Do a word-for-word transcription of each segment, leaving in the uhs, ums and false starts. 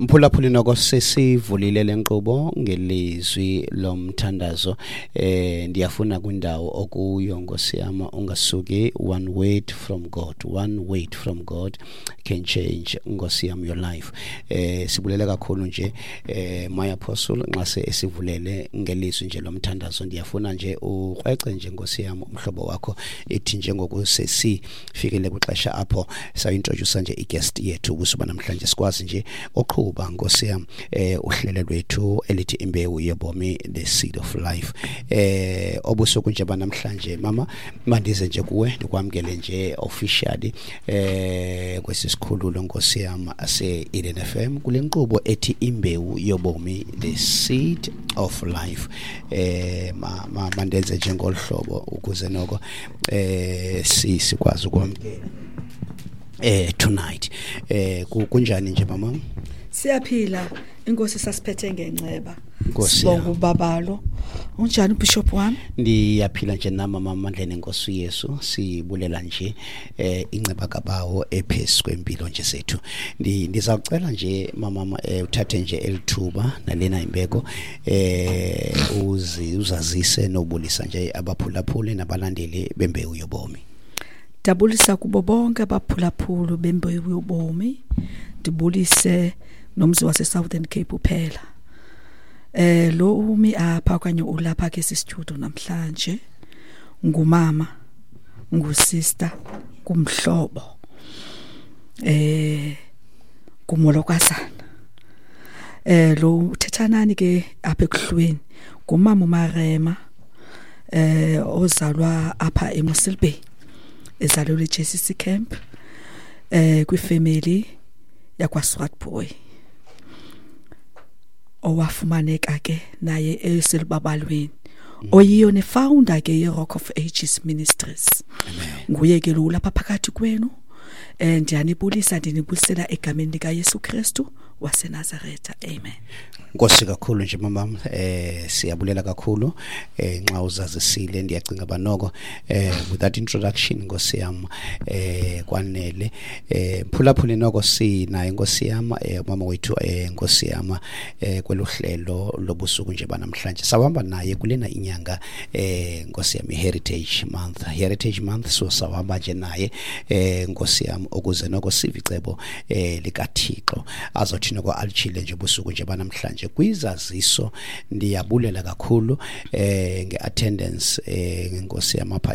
Mphulaphuli, noko sesivulile lenkqubo ngelizwi lomthandazo. eh ndiyafuna kwindawo okuyo, Nkosi yam, ungasuki. One word from God, one word from God can change, Nkosi yam, your life. eh sibulele kakhulu nje, eh my apostle, nxa se esivulele ngelizwi nje lomthandazo. Ndiyafuna nje ukrwece nje, Nkosi yam, umhlobo wakho ithi njengoku sesifikile kwixesha apho sayintroduce nje iguest yethu kusuba namhlanje, sikwazi nje oqhuba, Nkosi yam, eh uhlelo lwethu elithi Imbewu Yobomi, The Seed of Life. eh obusuku nje banamhlanje, mama, mandize nje kuwe, ndikwamkele nje officially eh kwesi sikhululo, Nkosi yam, ase Eden F M kule nkqubo ethi Imbewu Yobomi, The Seed of Life. eh ma, ma mandenze nje ngolhlobo ukuze noko eh si sikwazi ukwamkela eh tonight. eh kunjani nje, mama? Siyaphila, inkosi sasiphethe ngenceba. Nkosi Sibonga yami. Ubabalo. Unjani, Bishop wami? Ndiyaphila nje nami, mama, amandleni enkosi Yesu. Sibulela nje eh inceba kabawo ephezu kwempilo nje zethu. Ndi ndizawucela nje, mama, eh, uthathe nje elithuba nalena imbeko, eh uzi uzazise nobulisa nje abaphulaphuli nabalandeli beMbewu Yobomi. Ndabulisa kubo bonke abaphulaphuli beMbewu Yobomi. Ndibulise nomzi wase Southern Cape uphela. Eh lo umi apha okanye ulapha ke studio namhlanje ngumama, ngusister, kumhlobo. Eh kumolokazana. Eh lo uthethanani ke apha ekuhlweni ngumama uMarema, eh ozalwa apha eMossel Bay, ezalelwe eJ C C Camp, eh kwifamily yakwa Swartboy, owafumaneka ke naye eselubabalweni, oyiyo nefounder ke ye-Rock of Ages Ministries. Nguye ke lo lapha phakathi kwenu. eh ndiyanibulisa, ndinibulisela egameni lika Yesu Kristu waseNazaretha. Amen. Nkosi kakhulu nje, mama. eh siyabulela kakhulu eh nxa uzazisile. Ndiyacinga banoko eh with that introduction, Nkosi yami, eh kwanele. eh phulaphuli, noko sinaye, Nkosi yami, eh mama wethu, eh Nkosi yami, eh kweluhlelo lobusuku nje banamhlanje. Sawuhamba naye kulena inyanga, eh Nkosi yami, Heritage Month, Heritage Month. So sawuhamba nje naye, eh Nkosi yami, ukuze noko sive icebo eh likaThixo azothi noko alichile nje busuku nje banamhlanje kwizaziso. Ndiyabulela kakhulu eh ngeattendance, eh ngenkosi yami, apha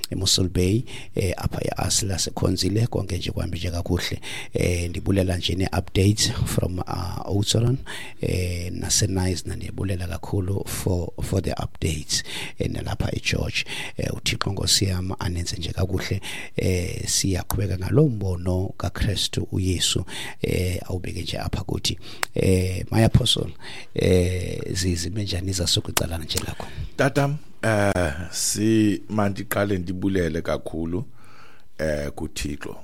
eMossel Bay, eh apha eAsla sekhonzile, konke nje kuhambe nje kakuhle. eh ndibulela nje ne-updates from uh, Oudtshoorn eh naseNice, ndiyabulela kakhulu for for the updates, eh nalapha eGeorge. eh uThixo, Nkosi yami, anenze nje kakuhle. eh siyaqhubeka ngalo mbono kaKristu uYesu eh awubeke nje apha kuthi. eh my apostle, eh zizime njani zasokucalana nje lakho? Tatam, eh si mandiqale ndibulele kakhulu eh kuThixo.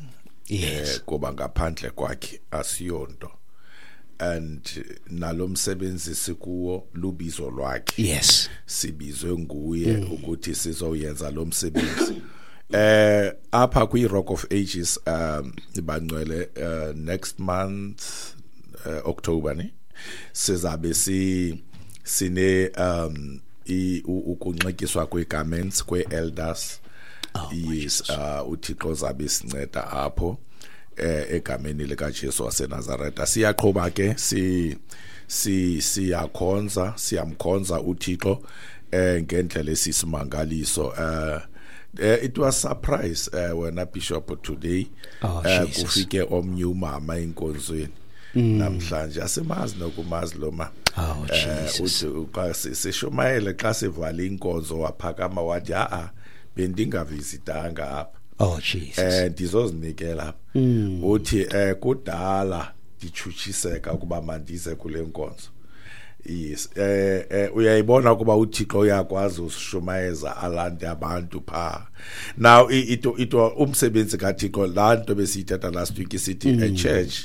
Yes. Eh kuba ngaphandle kwakhe asiyonto, and nalomsebenzi sikuwo lubizo lwakhe. Yes sibizwe nguye ukuthi sizoyenza lo msebenzi eh apha kwi Rock of Ages. um bangcwele, uh, next month, uh, October ne, sizabe si sine um i ukunxityiswa kwegarments kwe-elders. Oh, my. Yes, uh uThixo zabe sinceda apho eh egameni lika Jesu waseNazaretha. Siyaqhuba ke, si si siyakhonza, siyamkhonza uThixo eh ngendlela esisimangaliso. eh eh, it was surprise, uh, wena Bishop, today Oh, eh Jesus. kufike omnye umama enkonzweni namhlanje, asimazi nokumazi lo ma. Oh, Eh, Jesus. uthi xa si- sishumayele, xa sivala inkonzo, waphakama wathi, "A bendingavisitanga apha." Oh, Jesus. eh ndizozinikela apha. Uthi eh kudala ndichutshiseka ukuba mandize kule nkonzo. Yes, eh eh uyayibona ukuba uThixo uyakwazi usishumayeza alande abantu pha. Now ito ito umsebenzi kaThixo, laa nto besiyithetha last week, isithi a church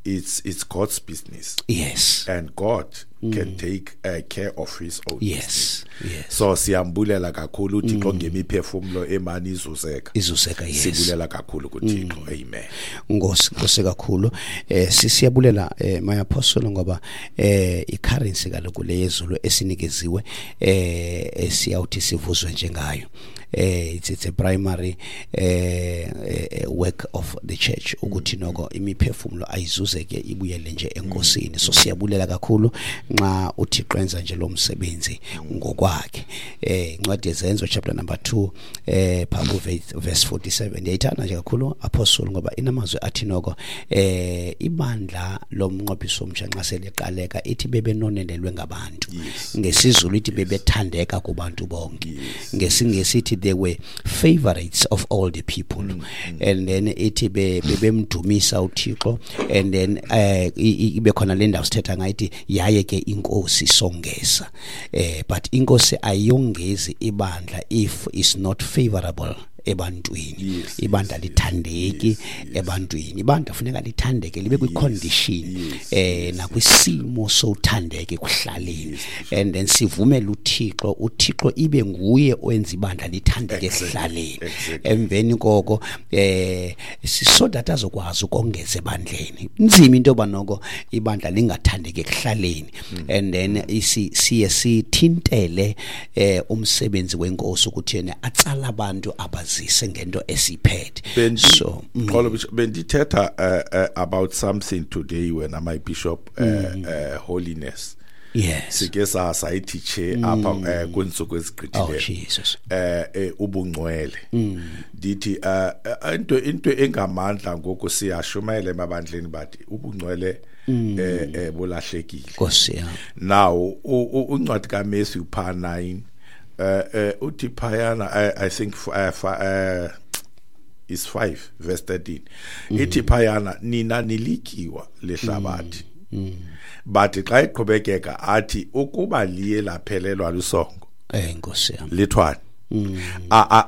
it's it's God's business. Yes. And God mm. can take uh, care of his own. Yes. Yes. So siyambulela kakhulu uThixo ngemiphefumulo emani izuzeka. Izuzeka, yes. Sibulela kakhulu kuThixo. Amen. Nkosi, Nkosi kakhulu. Eh siyabulela eh my apostle ngoba eh i-currency kaloku leyezulu esinikeziwe eh siyawuthi sivuzwe njengayo. Eh it's it's a primary eh work of the church ukuthi noko imiphefumulo ayizuzeke ibuyele nje enkosini. So siyabulela kakhulu nxa uThixo enza nje lo msebenzi ngokwakhe. Eh incwadi yeZenzo chapter number two eh phambi verse forty-seven ndiyayithanda nje kakhulu apostle ngoba inamazwi athi noko eh ibandla lomnqophiso omtsha nxa seliqaleka ithi bebenonelelwe ngabantu. NgesiZulu ithi bebethandeka kubantu bonke. NgesiNgesi ithi they were favorites of all the people. Mm, mm. And then ithi bebemdumisa uThixo, and then eh ibe khona le ndawo sithetha ngayo ithi yaye ke inkosi songeza. Eh but inkosi ayongezi ibandla if is not favorable ebantwini. Yes, ibandla lithandeki yes, yes, ebantwini. Ibandla funeka lithandeke libe kwi condition eh nakwisimo sothandeke kuhlaleni, and then sivumele uThixo uThixo ibe nguye owenza ibandla lithandeke ekuhlaleni. Emveni koko eh so that azokwazi ukongeza ebandleni. Inzima into yoba noko ibandla lingathandeki ekuhlaleni, and then isi siye sithintele eh umsebenzi wenkosi ukuthi yena atsala abantu abazi ngento esiphethe. So mm. bendithetha uh, uh, about something today when my bishop uh, mm. uh, holiness. Yes. Sike sa sayithiche apha kwintsuku ezigqithileyo. Oh Jesus. Eh ubungcwele. Ndithi into into engamandla ngoku siyashumayela emabandleni bathi ubungcwele eh bulahlekile. Nkosi yami. Now uncwadi kaMatthew pa nine Uh, uh, uthi phayana I, I think uh, uh, is five verse thirteen. Mm. Ithi phayana nina nilikiwa lehlabathi. Mm. But xa iqhubekeka athi ukuba liye laphelelwa lusongo. Eh Nkosi yami. Lithwani. Mm.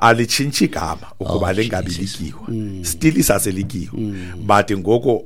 Alitshintshi igama ukuba oh, lingabi likiwa. Mm. Still isaselikiwa. Mm. But ngoku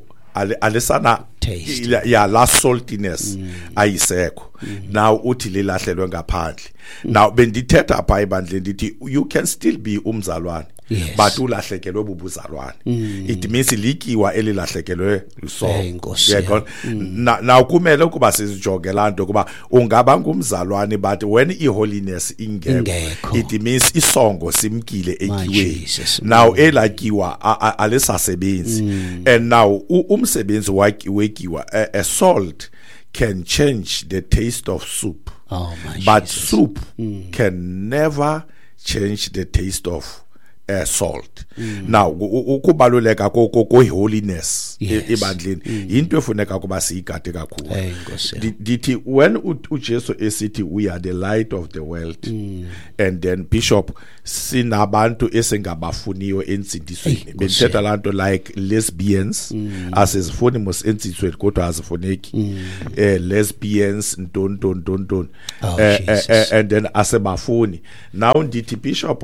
alisana taste ya la saltiness mm. ayisekho. Mm. Now uthi lilahlelwe ngaphandle. Mm. Now bendithetha pha ebandleni ndithi you can still be umzalwane. Yes. But ulahlekelwe bubuzalwane. Mm. It means likiwa elilahlekelwe lusongo. Yeah, mm. Now kumele ukuba sizijonge laa nto kuba ungaba ngumzalwane but when i-holiness ingekho it means isongo simkile etyiweni. Now elakiwa alisasebenzi. Mm. And now umsebenzi wekiwa a, a salt can change the taste of soup. Oh, my but Jesus. Soup mm. can never change the taste of uh, salt. Mm. Now ukubaluleka ko holiness Yes. ebandleni into efuneka kuba siyigade kakhulu. Hey Nkosi. Ndithi when uJesu esithi we are the light of the world, mm. and then bishop sinabantu esingabafuniyo entsindisweni. Bendithetha laa nto like lesbians, mm. asizifuni mos entsindisweni kodwa azifuneki. Mm. Eh lesbians nton nton nton nton. Oh, eh, Jesus. eh, and then asebafuni. Now ndithi bishop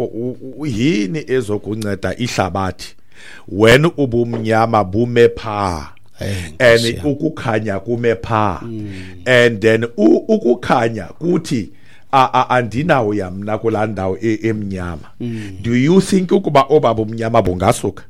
yini ezokunceda ihlabathi when ubumnyama bume pha and ukukhanya kume pha, mm. and then ukukhanya kuthi andinawo yamna kulaa ndawo emnyama. Mm. Do you think ukuba obaba umnyama bungasuka?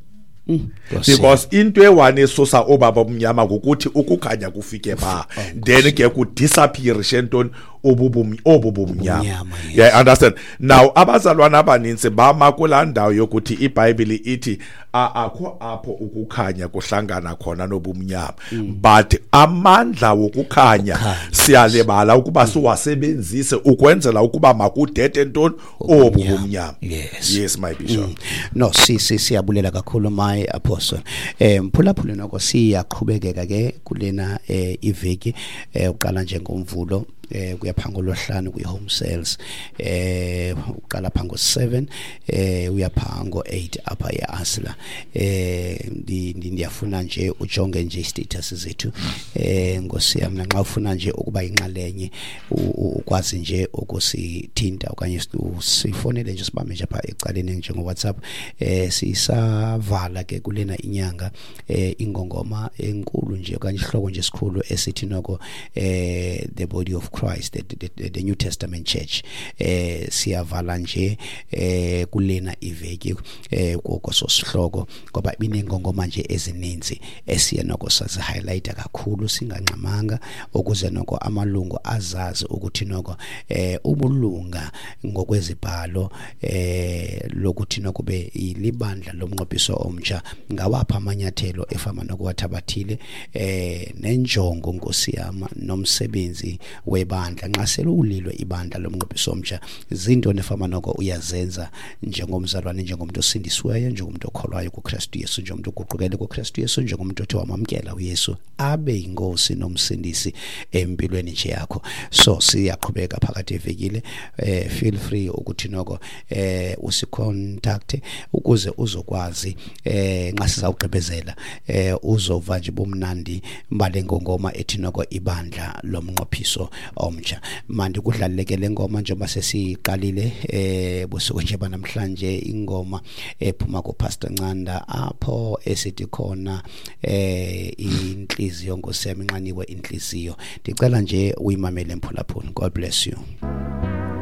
Mm. Because into ewane esusa obaba umnyama ngokuthi ukukhanya kufike pha, then ke kudisappear ntoni obubumnyama. Yes. Yeah, understand. Now abazalwana abaninzi bama kulaa ndawo yokuthi iBhayibhile ithi akho apho ukukhanya kuhlangana khona nobumnyama. Mm. But amandla wokukhanya siyalibala ukuba siwasebenzise ukwenzela ukuba makudede ntoni obubumnyama. Yes. Yes, my bishop. Mm. No, si si siyabulela kakhulu my apostle. Eh mphulaphula noko siyaqhubekeka ke kulena eh iveki eh uqala nje ngomvulo eh kuya pha ngolwesihlanu kwi home sales, eh uqala pha ngo seven eh uya pha ngo eight apha eAsla. Eh ndiyafuna nje ujonge nje status zethu eh ngosiyam, nxa ufuna nje ukuba inxalenye ukwazi nje ukusithinta okanye usifonele nje sibambe nje apha ecaleni njengo WhatsApp. Eh sisavala ke kulena inyanga eh ingongoma enkulu nje okanye isihloko nje esikhulu esithi noko eh the body of Christ, the, the, the New Testament Church. Eh siyavala nje eh kulena iveki eh kokososihloko ngoba binengongoma nje ezininzi esiye noko sazi highlight kakhulu singangxamanga ukuze noko amalungu azazi ukuthi noko eh ubulunga ngokwezibhalo eh lokuthi noko be ilibandla lomnqophiso omtsha ngawapha amanyathelo efama nokuwathabathile eh nenjongo Nkosi yami nomsebenzi webandla nxa selulilwe ibandla lomnqophiso omtsha, zinto nefama noko uyazenza njengomzalwane, njengomuntu osindisiweyo, njengomuntu okholwayo kuKristu Yesu, njengomuntu oguqukele kuKristu Yesu, njengomuntu othi wamamkela uYesu abe inkosi nomsindisi empilweni nje yakho. So siyaqhubeka phakathi evikile, eh feel free ukuthi noko eh usicontact ukuze uzokwazi eh nxa sizawugqibezela eh uzova nje bomnandi mbale ngongoma ethi noko ibandla lomnqophiso omtsha. Manje kudlaleke le ngoma njengoba sesiqalile eh busuku nje banamhlanje, ingoma ephuma ku Pastor Ncanda apho esithi khona eh inhliziyo Nkosi yami inqaniwe inhliziyo. Ndicela nje uyimamele mphulaphula. God bless you.